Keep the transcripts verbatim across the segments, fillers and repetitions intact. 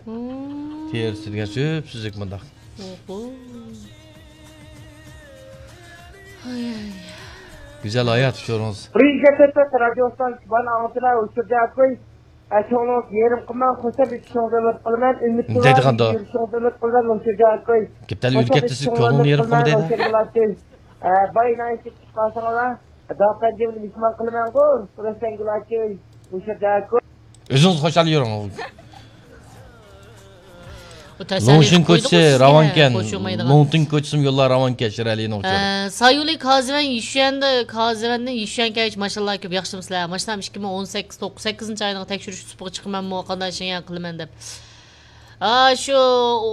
تېرىسى دېگەن سۈپسۈزۈك مۇنداق. ئوھو. ھاي، ھاي. گۈزەل ھايات ئۇچۇرىڭىز. بىرىنچى كەتتى رادىيو ستانسىسى بار ئاڭلىتىمەن، ئۇچۇر جاكوي. ئەچوڭلۇق يېرىم قىلماڭ، خۇشال ئېتىشىڭ ئۈمىد قىلىمەن، ئۈمىد قىلىڭ، دەيدىغاندا. يېرىشىڭ ئۈمىد قىلىمەن، ئۇچۇر جاكوي. گېپلەرنى ئۆزگەرتسىز، كۆڭلۈڭنى يېرىم قىلما دەيدۇ. باي نايسى چىقارساڭلار. داپەندىمنى مېھمان قىلىمەنغۇ، رەسەنگۇلاچى، مۇشۇ دەكۇ. ئۆزىڭىز خۇشال يۈرۈڭ. لوڭشىن كوچىسى راۋانكەن. لوڭتىڭ كوچىسىمۇ يوللار راۋانكەن، شىرئەلىنىڭ ئۇچۇرى. سايۇلى كازىۋەن يۈشۈەندە، كازىۋەندىن يۈشۈەنگە كەلگەچ ماشىنىلار كۆپ، ياخشىمۇسىلەر؟ ماشىنام ئىككى مىڭ ئون سەككىز، توق-، سەككىزىنچى ئاينىڭ تەكشۈرۈش سۇپىغا چىقىمەنمۇ، قانداق ئىشىڭ قىلىمەن دەپ. ئا، شۇ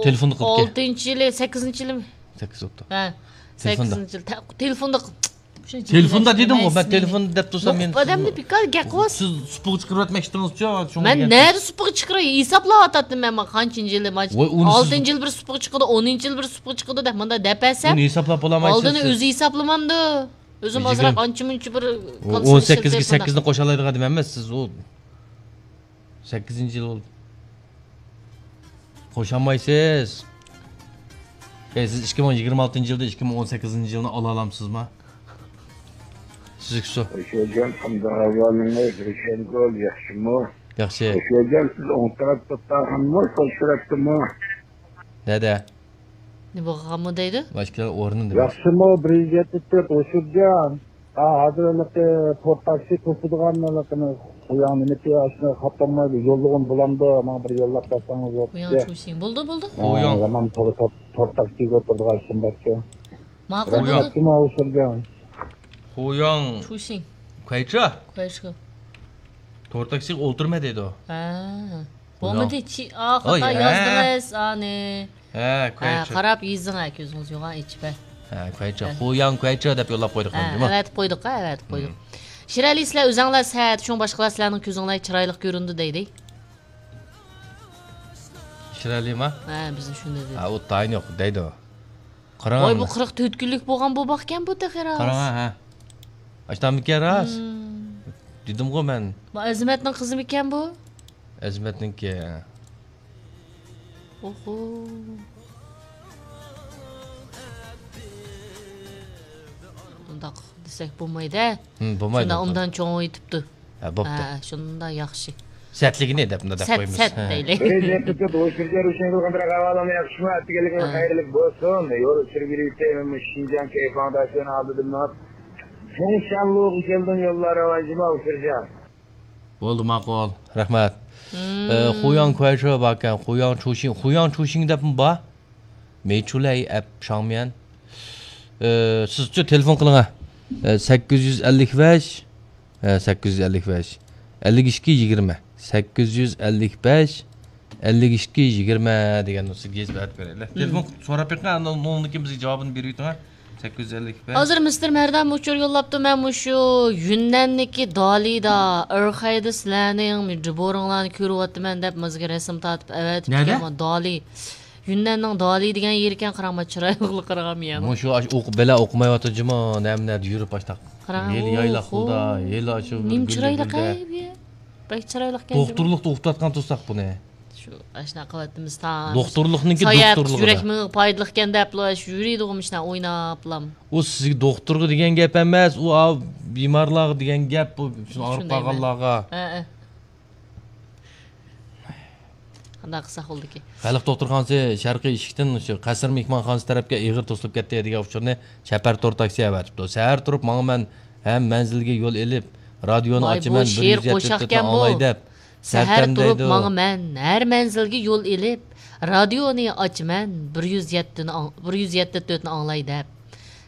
ئالتىنچى يىلى، سەككىزىنچى يىلىمۇ؟ سەككىز بوپتۇ. ھە، سەككىزىنچى يىل. تېلېفوندا دېدىمغۇ، مەن تېلېفوندا دەپ تۇرسام، مەن ئادەمنى بىكار گەپ قىلىۋاتىسىز. سىز سۇپىغا چىقىرىۋەتمەكچىدىڭىزچۇ؟ مەن نەدە سۇپىغا چىقىراي؟ ھېسابلاۋاتاتتىم مەن، مانا قانچىنچى يىلى، مانا ئالتىنچى يىلى بىر سۇپىغا چىقىدۇ، ئونىنچى يىلى بىر سۇپىغا چىقىدۇ دەپ مۇنداق دەپ بەرسەم، ئۇنى ھېسابلاپ بولالمايسىز ئالدىنى سىز. ئۆزى ھېسابلىمامدۇ؟ ئۆزۈم ئازراق ئانچە-مۇنچە بىر ئون سەككىزگە سەككىزنى قوشالايدىغان ئادەم ئەمەس سىز، ئۇ سەككىزىنچى يىل بولدى. قوشالمايسىز. ئەي، سىز ئىككى مىڭ يىگىرمە ئالتىنچى يىلدا ئىككى مىڭ ئون سەككىزىنچى يىلنى ئالالايسىزما؟ سىزگە سو. خوش گەلگەن، قانداق ئەھۋالىڭىز؟ روشەنگۈل، ياخشىمۇ؟ ياخشى. خوش گەلگەن، سىز ئوڭ تەرەپتە ئولتۇرغانمۇ، سول سۈرەتتىمۇ؟ نەدە؟ نېمە بولغانمۇ دەيدۇ؟ ماشىنا ئورنىدا. ياخشىمۇ، بىر يۈز يەتتە تۆت، ئوشۇرجان. ھا، ھازىر ھېلىقى تور تاكسى توسىدىغان ھېلىقىنى قوياڭ نېمىتى، ئاشۇنى خاپتانمايدۇ، يوللىغۇن بولامدۇ؟ ماڭا بىر يوللاپ بەرسەڭىز بولدى. قوياڭ چۇشىڭ. بولدى، بولدى. ھا، قوياڭ. يامان تور، تور، تور تاكسىگە ئولتۇرىدىغان ئىشىم باركەن. ماقۇل، بولدى. رەھمەت، جۇما ئوشۇرجان. قوياڭ. چۇشىڭ. كۇەيچا؟ كۇەيچا. تور تاكسىغا ئولتۇرما دەيدۇ. ھا. بولمىدى، چى-، ئا، خاتا يازدىڭىز، ئانى. ھە، ھە، كۇەيچا. قاراپ يېزىڭ، ھە، كۆزىڭىز يوغان ئېچىپ، ھە. ھە، كۇەيچا. ھە. خۇياڭ كۇەيچا دەپ يوللاپ قويدۇق، ھە، جۇمۇ. ئەۋەتىپ قويدۇق، ھە، ئەۋەتىپ قويدۇق. شىرئەلى، سىلەر ئۆزەڭلار سەت، شۇڭا باشقىلار سىلەرنىڭ كۆزۈڭلار چىرايلىق كۆرۈندى دەيدۇ. شىرئەلىما؟ ھە، بىزنى شۇنداق دېدى. ھە، ئۇ تايىنى يوق دەيدۇ. قاراڭ. ۋاي، بۇ قىرىق تۆت كۈنلۈك بولغان بوباقكەن بۇ تېخى راست. قاراڭ، ھە. ئاشتانمىكەن راست؟ ھىم. دېدىمغۇ مەن. بۇ ئەزىمەتنىڭ قىزىمىكەن بۇ؟ ئەزىمەتنىڭكى. ئوھو. ئۇنداق دېسەك بولمايدۇ. ھىم، بولمايدۇ. شۇنداق ئۇندان چوڭ ئېتىپتۇ. ھە، بوپتۇ. ھە، شۇنداق ياخشى. سەتلىكىنى دەپ، مۇنداق دەپ قويىمىز. سەت، سەت دەيلى. ھە. ئەتىگەنلىكىڭىز خەيرلىك بولسۇن. يول ئۈستىدە يۈرۈۋېتەي، شىنجاڭ كەيپ ئاڭداشلىرىنىڭ ئالدىدا مېڭىپ، چوڭ شانلۇغا كەلدىم، يوللار راۋان، جۇما ئۇچۇرجان. بولدى، ماقۇل. رەھمەت. مم. ئە، خۇياڭ كۇەيچا باركەن، خۇياڭ چۇشىڭ، خۇياڭ چۇشىڭ دەپمۇ بار. مېيچۇلەي ئەپ شاڭميەن. ئە، سىزچۇ تېلېفون قىلىڭ، ھە. ئە، سەككىز يۈز ئەللىك بەش، ئە، سەككىز يۈز ئەللىك بەش، ئەللىك ئىككى يىگىرمە، سەككىز يۈز ئەللىك بەش، ئەللىك ئىككى يىگىرمە دېگەن نومۇرغا يېزىپ ئەۋەتىپ بېرەيلى. مم. تېلېفون سوراپ بېقىڭ، ئاندىن ئۇنىڭدىن كېيىن بىزگە جاۋابىنى بېرىپ ئۆتۈڭ، ھە. سەككىز يۈز ئەللىك بەش. ھازىر مىستېر مەردان ئۇچۇر يوللاپتۇ، مەن مۇشۇ يۈننەننىكى دالىدا، ئەرخەيدە سىلەرنىڭ جىبورۇڭلارنى كۆرۈۋاتىمەن دەپ، ماڭا رەسىم تارتىپ ئەۋەتىپتىكەن. نەدە؟ دالى. يۈننەننىڭ دالى دېگەن يېرىكەن، قاراڭ، ما چىرايلىقلىقىغا يەنە. مۇشۇ ئاش-، ئوقۇپ، بەلا ئوقۇمايۋاتىدۇ جۇمۇ، نەمە نەدە يۈرۈپ ئاشتاق. قاراڭ، ھېلى يايلاق ئوھو. يولدا، ھېلى ئاشۇ نېمە چىرايلىق ئەي بۇ. بەك چىرايلىقكەن جۇمۇ. دوختۇرلۇقتا ئوقۇتۇۋاتقان تۇرساق بۇنى. شۇ ئاشۇنداق قىلىۋاتىمىز تا. دوختۇرلۇقنىڭكى ساياھەت دوختۇرلۇقىدا. يۈرەك مېڭىگە پايدىلىقكەن دەپلا شۇ يۈرىدىغۇ مۇشۇنداق ئويناپلام. ئۇ سىزگە دوختۇرغا دېگەن گەپ ئەمەس، ئۇ ئا-، بىمارلارغا دېگەن گەپ، بۇ شۇ ئاغرىپ شۇندايمۇ؟ قالغانلارغا. ھە، ھە. قانداق قىلساق بولىدىكى؟ خەلق دوختۇرخانىسى شەرقىي ئىشىكتىن شۇ قەسىر مېھمانخانىسى تەرەپكە ئېغىر توسۇلۇپ كەتتى دېگەن ئۇچۇرنى چەپەر تور تاكسى ئەۋەتىپتۇ. سەھەر تۇرۇپ ماڭىمەن ھەم مەنزىلگە يول ئېلىپ، رادىيونى ئاچىمەن، بىر يۈز يەتتە تۆتنى ئاڭلاي دەپ. سەھەر تۇرۇپ ماڭىمەن ھەر مەنزىلگە يول ئېلىپ، رادىيونى ئاچىمەن، بىر يۈز يەتتىنى ئاڭ-، بىر يۈز يەتتە تۆتنى ئاڭلاي دەپ.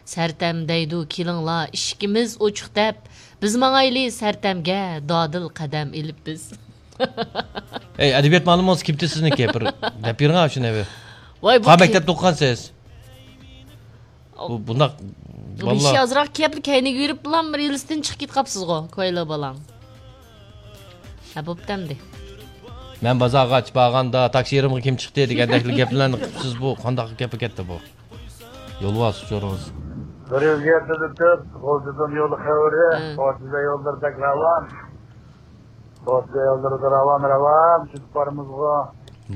سەرتەم دەيدۇ، كېلىڭلار، ئىشىكىمىز ئوچۇق دەپ، بىز ماڭايلى سەرتەمگە، دادىل قەدەم ئېلىپ بىز. ئەي، ئەدەبىيات مۇئەللىمىڭىز كىمتى سىزنىڭكى؟ بىر دەپ بېرىڭ شۇنى بىر. ۋاي، بۇ قا-، مەكتەپتە ئوقۇغانسىز؟ بۇ، بۇنداق بۇ بالىلار. ئىشى ئازراق كەپلا كەينىگە يۈرۈپ بىلەن بىر يىلىستىن چىقىپ كېتىپ قاپسىزغۇ، كويلا بالاڭ. ھە، بوپتۇ ئەمدى. مەن بازارغا ئاچ بارغاندا، تاكسى يېرىمغا كىم چىقتى دېگەندەكلا گەپلەرنى قىپسىز بۇ. قانداق گەپ كەتتى بۇ؟ يولۋاس ئۇچۇرىڭىز. بىر يۈز يەتتە تۆت، غۇلجىدىن يول خەۋىرى، ھە. غۇلجىدا يوللىرى بەك راۋان. غۇلجىدا يوللىرىدا راۋان، راۋان، چۈشۈپ بارىمىزغۇ.